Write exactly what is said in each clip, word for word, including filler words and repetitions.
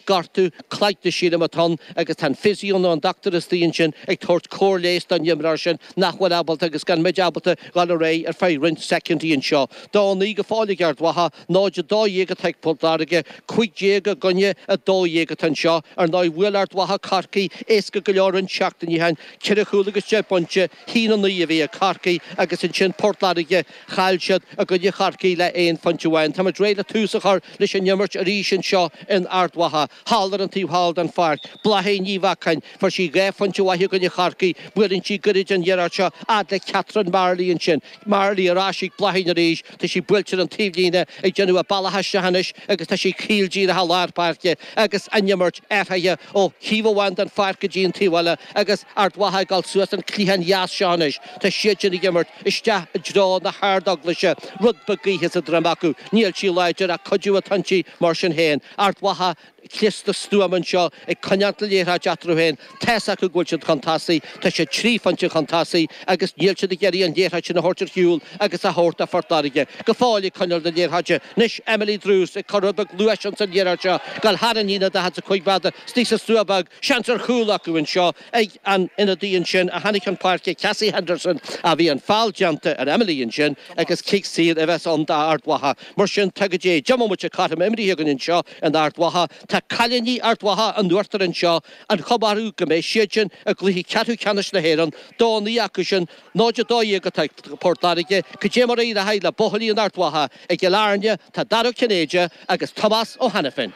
Gortú cloigne sílim atá ann agus tá an physio nó an dochtúir istigh ansin ag tabhairt cóir leighis don imreoir sin nach bhfuil ábalta agus gan muid ábalta dhul ar aghaidh ar feadh roinnt soicindí anseo. Dó a naoi go fóill ag Ard Mhacha, náid a dó dhéag atá ag Port Láirge, cúig déag i gcoinne a dó dhéag atá anseo. Ar ndóigh bhuail Ard Mhacha Corcaigh éasca go leor roinnt seachtainí ó shin, ceithre chúl agus deich bpointe, haon a naoi a bhí ag Corcaigh agus ansin Port Láirge, chaill siad i gcoinne Chorcaí le aon phointe amháin. Táimid réidh le tús a chur leis an imirt arís anseo in Ard Mhacha. Thall ar an taobh thall den pháirc, Bláithín Ní Bheacháin, fuair sí dhá phointe mhaithe i gcoinne Chorcaí, buaileann sí goirid an iarracht seo fhad le Catherine Marley ansin. Marley ar ais ag Bláithín arís, tá sí buailte ar an taobhlíne ag déanamh a bealach isteach anois agus tá sí caol díreach i lár páirce agus an imirt athraithe ó thaobh amháin den pháirc go dtí an taobh eile agus Ard Mhacha ag dul suas an cliathán dheas seo anois. Tá siad sin ag imirt isteach i dtreo na hArd-Eaglaise, rud beag gaoithe sa droim acu. Níl sí láidir ach cuidiú atá inti mar sin féin. Ard Mhacha cliste stuama anseo ag coinneáil na liathróide eatarthu féin. Tá's acu go bhfuil siad chun tosaigh, tá siad trí phointe chun tosaigh agus níl siad ag iarraidh an liathróid sin a thabhairt ar shiúl agus a thabhairt do Phort Láirge. Go fóill ag coinneáil na liathróide. Anois Emily Druce ag cur rud beag luais ins an liathróid seo, dul thar an líne daichead is a cúig mhéadar, istigh sa stua beag, seans ar chúl acu anseo ag an ionadaí ansin a tháinig chun páirce, Cassie Henderson, a bhí an feall déanta ar Emily ansin agus cic saor a bheas ann d'Ard Mhacha. Mar sin, tá go dtí deich mbomaite cothrom imrithe againn anseo in Ard Mhacha. Tá cailíní Ard Mhacha in uachtar anseo, an chuma orthu go mbeidh siad sin i gcluiche ceathrú ceannais na hÉireann, dó a naoi acu sin, náid a dó dhéag atá ag Port Láirge. Cad é mar a éireoidh le buachaillí in Ard Mhacha? I gCill Airne tá Dara Ó Cinnéide agus Tomás Ó hAiniféin.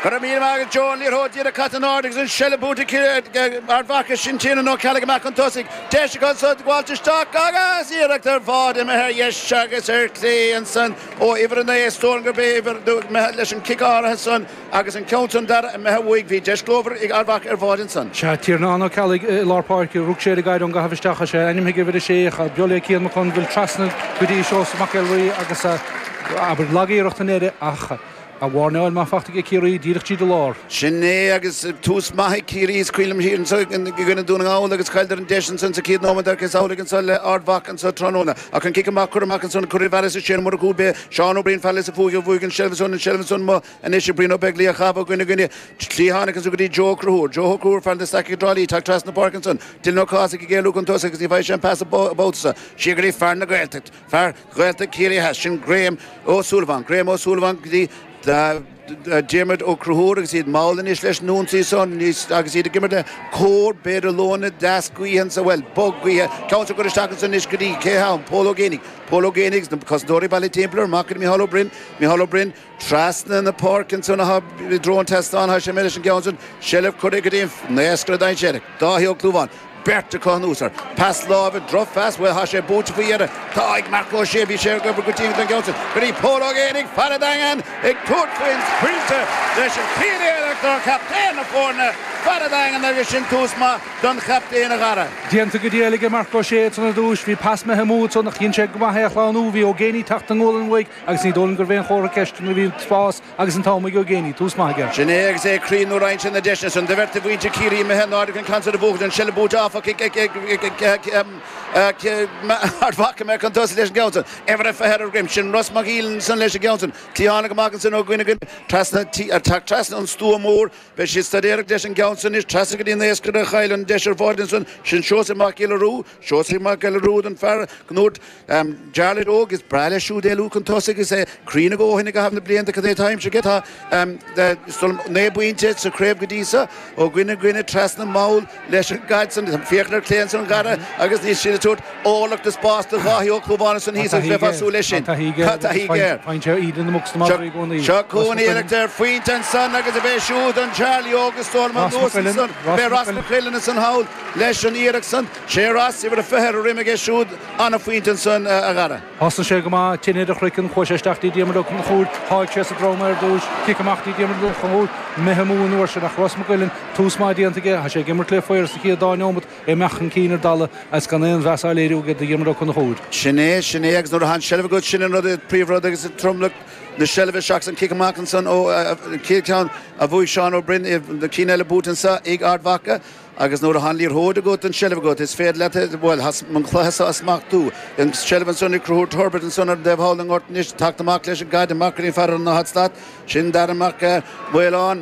Go raibh míle maith agat Joe, an liathróid díreach caite in airde agus an seilbh buaite ag Ard Mhacha, sin Tiernan Ó Ceallaigh amach chun tosaigh. Deis acu anso gabháilt isteach agus iarracht ar bhád imithe ar dheis agus ar chlé ansan ó uimhir a naoi, is dóigh liom gurb é uimhir imithe leis an cic áirithe san agus an ceann san dara imithe uaidh. Bhí deis glórmhar ag Ard Mhacha ar bhád ansan. Sea, Tiernan Ó Ceallaigh i lár páirce, rug sé ar an gcaighdeán ag caitheamh isteach, is é ainm ag uimhir a sé, beo le Cian Mac Conmhaoil trasna go dtí Seosamh Mac Elraí agus abair lag-iarracht i ndeireadh ach a mhairneáil maith fachta ag Ciarraí díreach tríd an lár. Sin é agus tús maith ag Ciarraí is cuimhin liom thiar anso i gcoinne Dún na nGall agus chailleadar an deis ansan sa chéad nóiméad ach is amhlaidh anso le Ard Mhacha anso tráthnóna. Ach an cic amach curtha amach ansan curtha i bhfearas is Séan Ó Murchú b'é Seán Ó Briain fear Lios a' Phuic a bhuaigh an seilbh ansan an seilbh ansan amuigh anois ag Brian Ó Beaglaoich a chaitheamh ó dhuine go duine. Cliathánach anso go dtí Joe Ó Conchúir. Joe Ó Conchúir fear na Staice i dTrá Lí teacht trasna na páirce ansan. Dylan Ó Cathasaigh ag éalú chun tosaigh agus ní bhfaighidh sé an pas an babhta seo. Siar go dtí fear na Gaeltacht. Fear Ghaeltacht Chiarraí Theas, sin Graham Ó Súilleabháin. Graham Ó Súilleabháin go dtí Diarmuid Ó Conchúir agus iad mall anois leis an ionsaí san agus iad ag imirt le cóir b'fhéidir lóna deas gaoithe anso, bhuel, bog gaoithe. Ceann san curtha isteach ansan anois go dtí, cé ann? Pól Ó Géibheannaigh. Pól Ó Géibheannaigh agus na cosantóirí bailithe timpeall air, amach go dtí Micheál Ó Broin. Micheál Ó Broin trasna na páirce ansan atá i dtreo an tseastáin, tá sé imithe leis an gceann san. Seilbh curtha go dtí an naoscaire dainséarach, Dáithí Ó Clúmháin. Beirt acu anuas air. Pas láimhe, drochphas, bhuel, tá sé buaite faoi dheireadh. Tá ag Marc Ó Sé, bhí sé ag obair go dian don gceann sin. Go dtí Pól Ó Géibheannaigh, fear an Daingin, ag tabhairt faoin bpointe leis an chéad iarracht ó chaptaen na foirne, fear an Daingin agus sin tús maith don chaptaen a Dhara. Déanta go diail aige Marc Ó Sé ansan ar dtúis. Bhí pas imithe amú ansan ach dhein sé go maith é a shlánú. Bhí Ó Géibheannaigh ag teacht i ngualainn uaidh agus ní dóigh liom gurbh aon chomhartha ceiste nuair a bhí an spás Agus an t-am ag Ó Géibheannaigh, tús maith aige. Sin é agus é cruinn nuair a fhaigheann sé na deiseanna san. Do bheirt de mhuintir Chiarraí imithe in airde chun ceann san a bhuachaint, an seilbh buaite áfach ag Ard Mhacha imithe chun tosaigh leis an gceann san. Uimhir a fiche ar a dhroim. Sin Ros Mac Uidhilin ansan leis an gceann san. Cliathánach amach ansan ó dhuine go trasna, teacht trasna an stua mór. Beidh siad staidiúireacht leis an gceann san anois trasna go dtí an naoscaire a chaill an deis ar bhád ansan. Sin Seosamh Mac Giolla Rua. Seosamh Mac Giolla Rua an fear go ndúirt Jarlath Óg, is breá leis siúd éalú chun tosaigh agus é cruinn a dhóthain i gcaitheamh na blianta. Cad é atá aimsithe aige? Tá naoi bpointe sa chraobh go dtí seo, ó dhuine go duine trasna mall leis an gcaid san. Féachaint ar clé ansan a Dhara agus níl siad ag tabhairt orlach de spás do Dháithí Ó Clúmháin ansan thíos agus bheifeá ag súil leis sin. Tá taithí aige air. Seo chugainn iarracht ar phointe ansan agus ab é siúd an Charlie Óg is dóigh liom anuas ansan. B'é Ross McQuillan ansan thall leis an iarracht san. Sé Ross, uimhir a fiche ar a dhroim aige siúd, ana-phointe ansan, a Dhara. Thosnaigh sé go maith, tinn ar a chraiceann, chuaigh sé isteach dtí Diarmuid Ó Conchúir, sháigh sé sa drom é ar dtúis, cic amach dtí Diarmuid Ó Conchúir, imithe amú an uair sin ach Ros McGuillan, tús maith déanta aige, tá sé ag imirt le faobhar sa chéad dá neomat, é imeacht chun cinn ar dalladh agus gan aon mheas á léiriú aige do Dhiarmuid Ó Conchúir. Sin é, sin é agus nuair atá an seilbh agat, sin an rud, príomhrud agus an tromlach. na seilbhe seachas an cic amach ansan ó chéad ceann a bhuaigh Seán Ó Broin na cinn eile buaite anseo ag Ard Mhacha. Agus nuair atá an liathróid agat an seilbh agat is féidir leat bhuel an cluiche seo a smachtú. An seilbh ansan ag Conchúr Turbert ansan ar an dtaobh thall den ngort anois teacht amach leis an gcaid amach go dtí an fear ar an daichead slat. Sin Darragh Mac Maoláin.